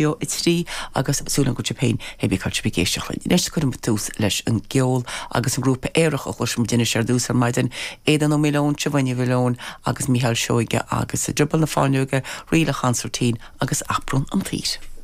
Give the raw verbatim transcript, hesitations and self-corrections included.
a trí agus súil go féin hé cá ag éisteacht linn. Anois cuirim tús leis an gceol agus an grúpa Aerach a chloisfimid anois ar dtús ar maidin Aodán Ó Maoileoin, Siobhán Ní Mhaoileoin agus Micheál Seoige agus Drioball na Fáinleoige, Ríle Chonsairtín agus Aprún an tSaoir.